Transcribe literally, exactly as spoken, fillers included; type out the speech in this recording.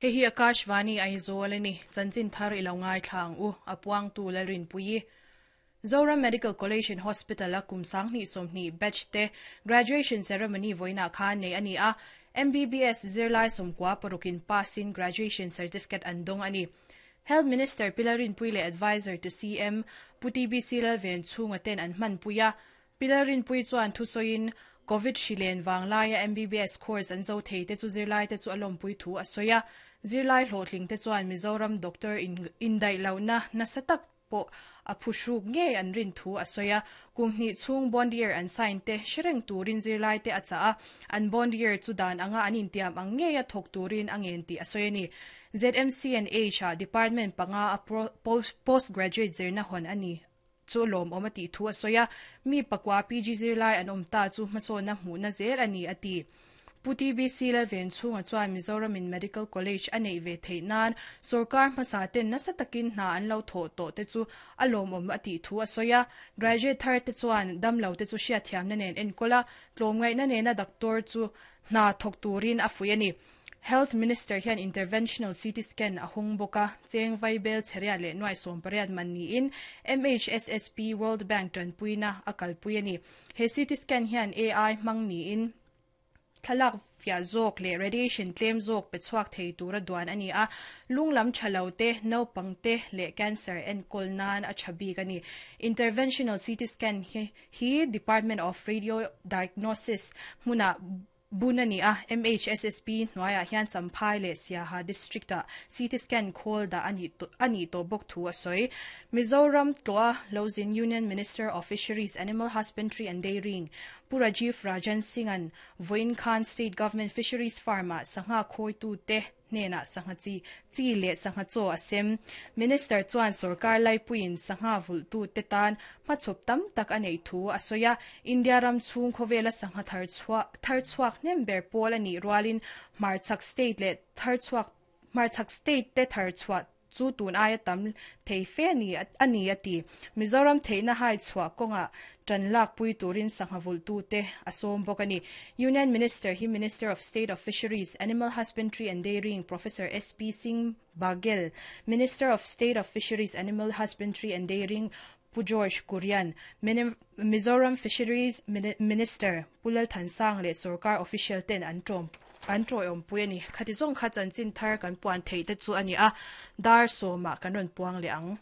Hei hi Akashvani Aizawl ani chanchin thar ilo ngai thlang u apuang tu lalrin pui Zoram Medical College and Hospital a kumsang ni somni batch te graduation ceremony voina khan nei ani a M B B S zirlai somkwa parukin passin graduation certificate an dong ani. Health Minister Pi Lalrinpuii advisor to C M Pu T B C Lalvenchhunga ten an hman puia. Pi Lalrinpuii chuan thusawiin COVID hrilen wanglaia M B B S course an zo thei te chu zirlai te chu alawm pui thu a sawi a. Zirlai hlawhtling te chuan Mizoram doctor in indai lohna nasa tak pawh a phuhruk nge an rin thu a sawi a. Kum hnih chhung bond year an sign te hrereng turin zirlai te a cha a, an bond year chu dan anga an intiam ang nge a thawk turin a ngen tih a sawi ani. Z M C and H a department panga a postgraduate zirna hon ani chu lawm awm a tih thu a sawi a. Mi pakua P G zirlai an awm ta chu hmasawna hmuhna zel ani a ti. Pu T B C Lalvenchhunga chuan Mizoram in Medical College a nei ve theih nan sarkar hmasa ten nasa takin hna an lo thawh tawh te chu a lawm awm a tih thu a sawi a. Graduate thar te chuan damlo te chu hriatthiam na nen enkawl a, tlawmngaih na nena doctor chu hna thawk turin a fui ani. Health Minister hian interventional C T scan a hung bawka cheng vaibel chheria leh nuai sawm pariat man niin M H S S P World Bank tanpuina a kalpui ani. He C T scan hian A I hmang niin thlalak fia zawk leh radiation tlem zawk pe chhuak thei tura duan ani a. Lunglam thalo te, naupang te leh cancer enkawl nan a thabik ani. Interventional C T scan hi, hi Department of Radio Diagnosis hmuna bunani a. M H S S P hnuaiah hian Champhai leh Siaha district a C T scan khawl da ani to ani to bawk thu a sawi. Mizoram tloa Lozin Union Minister of Fisheries, Animal Husbandry and Dairying Pu Rajiv Rajan Singhan Voin Khan State Government Fisheries Farm a sangha khoi tu te hnena sangha chi chi leh sangha chaw a sem. Minister chuan sarkar laipuiin sangha vul tu te tan hmachhawp tam tak a nei thu a sawi a. India ram chhung khawvela sangha thar chhuak thar chhuak hnem ber pawl ani rualin hmarchhak state leh thar chhuak hmarchhak state te thar chhuah chu tun aia tam thei fe ani ani ati. Mizoram theihna hai chhuah kawnga tan lak pui turin sangha vul tu te a sawm bawk ani. Union Minister hi Minister of State of Fisheries, Animal Husbandry and Dairying Professor S P Singh Baghel, Minister of State of Fisheries, Animal Husbandry and Dairying Pu George Kurian, Mizoram Fisheries Minister Pu Lalthansanga leh sarkar official ten an tawm an tawi awm pui ani. Khati zawng kha chanchin thar kan puan thei te chu ani a. Dar sawma kan rawn puang leh ang.